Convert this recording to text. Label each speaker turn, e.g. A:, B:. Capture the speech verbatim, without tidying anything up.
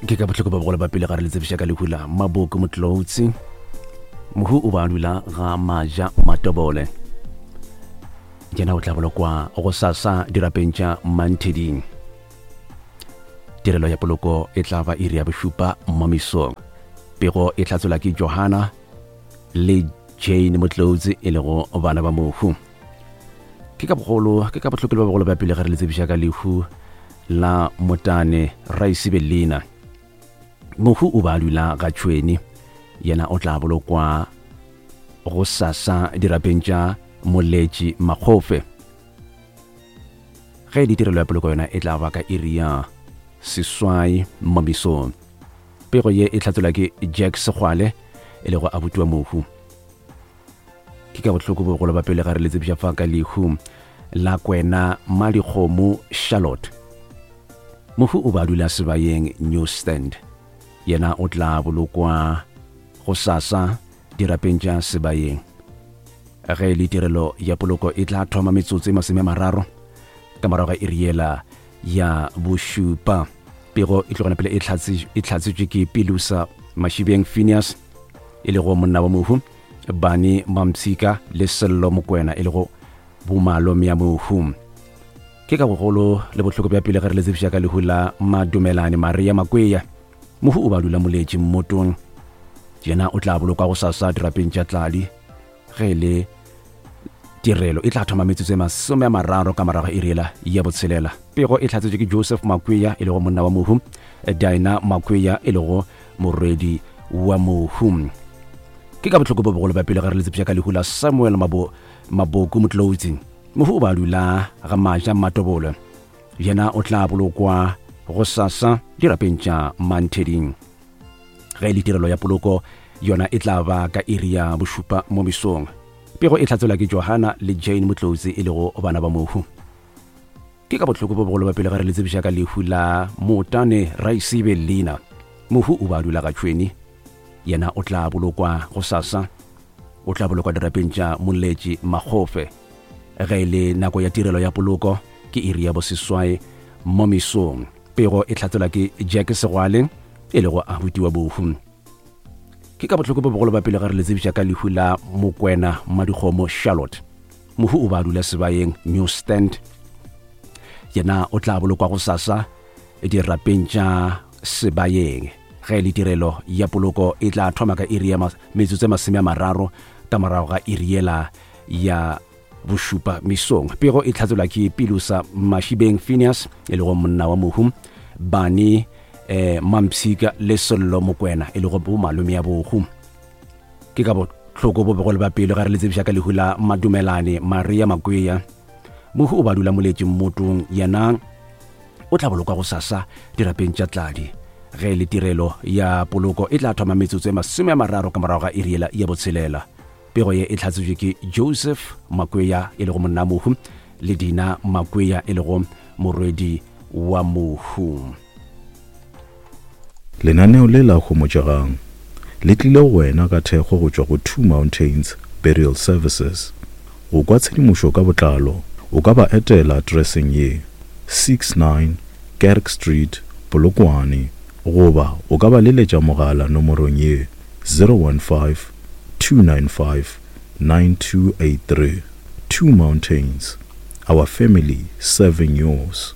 A: Ke ka bohloko ba bogolo ba pele ga re le tsebiša ka lehu la Maboko Motlotsi. Mohu o ba dula ga Maja Matobole. Yena o tla bolokwa go sasa dirapeng tša Mantheding. Tirelo ya poloko e tla ba iri ya bošupa mo mesong. Pego e hlatselwa ke Johanna le Jane Motlotsi e lego bana ba mohu. Ke ka bogolo ke ka bohloko le ba bogolo ba pele ga re le tsebiša ka lehu la Motane Raisibe Lena. Mohu o ba dula ga Tšhweni, yena o tla bolokwa go sasa dirapeng tša Moletši Makgofe. Ge e le tirelo ya poloko yona e tla ba ka iri ya seswai mo mesong. Pego ye e hlatselwa ke Jack Segwale e lego abuti wa mohu. Ke ka bohloko bogolo ba pele ga re le tsebiša fa ka lehu la Kwena Madikgomo Charlotte. Mohu o ba dula Sebayeng New Stand. Yena o tla bolokwa go sasa dirapeng tša Sebayeng. Ge e le tirelo ya poloko e tla thoma metsotso e masome a mararo ka morago ga iri yela ya bošupa. Pego e tlogana pele e hlatsetšwe ke Pilusa Mashibeng Phineas e lego monna wa mohu, Bani Mampshika le Sello Mokwena e lego bomalome ya mohu. Ke ka bogolo le bohloko bja pele ge re le tsebiša ka lehu la Madumelane Maria Makweya. Mohu o ba dula Moletši mmotong. Yena o tla bolokwa go sasa dirapeng tša Tladi. Ge e le tirelo e tla thoma metsotso e masome a mararo ka morago iri yela ya botshelela. Pego e hlatsetšwe ke Joseph Makweya e lego monna wa mohu, Dinah Makweya e lego morwedi wa mohu. Ke ka bohloko bo bogolo ba pele ge re le tsebiša ka lehu la Samuel Mabo, Maboko Motlotsi. Mohu o ba dula ga Maja Matobolo. Yena o tla bolokwa go sasa dirapeng tša Mantheding. Ge e le tirelo ya poloko yona e tla ba ka iri ya bošupa mo mesong. Pego e hlatselwa ke Johanna le Jane Motlotsi e lego bana ba mohu. Ke ka bohloko bo bogolo ba pele ga re le tsebiša ka lehu la Motane Raisibe Lena. Mohu o ba dula ga Tšhweni. Yena o tla bolokwa go sasa. O tla bolokwa dirapeng tša Moletši Makgofe. Ge e le nako ya tirelo ya poloko ke iri ya boseswai mo mesong. Pego e hlatselwa ke Jack Segwale e lego abuti wa bohu. Ke ka bohloko bo bogolo ba pele ga re le tsebiša ka lehu la Mokwena Madikgomo Charlotte. Mohu o ba dula Sebayeng New Stand. Yena o tla bolokwa go sasa dirapeng tša Sebayeng. Ge e le tirelo ya poloko e tla thoma ka iri ya metsotso e masome a mararo ka morago ga iri yela ya bošupa mesong. Pego e hlatselwa ke Pilusa Mashibeng Phineas e lego monna wa mohu, Bani eh, Mampshika le Sello Mokwena e lego bomalome ya bohu. Ke ka bohloko bo bogolo ba pelo ga re le tsebiša ka lehu la Madumelane Maria Makweya. Mohu o ba dula Moletši mmotong. Yena o tla bolokwa go sasa dirapeng tša Tladi. Ge e le tirelo ya poloko e tla thoma metsotso e masome a mararo ka morago ga iri yela ya botshelela. Pego ye e hlatsetšwe ke Joseph Makweya e lego monna mohu le Dina Makweya e lego morwedi wa mohu.
B: Lenaneo le la Homotšegang le tlile go wena ka thekgo go tšwa go Two Mountains Burial Services. Go kwa tshedimošo ka botlalo, o ka ba etela atereseng ye, six nine Kerk Street, Polokwane, goba o ka ba leletša mogala nomorong ye, zero one five, two nine five, nine two eight three. Two Mountains, our family serving yours.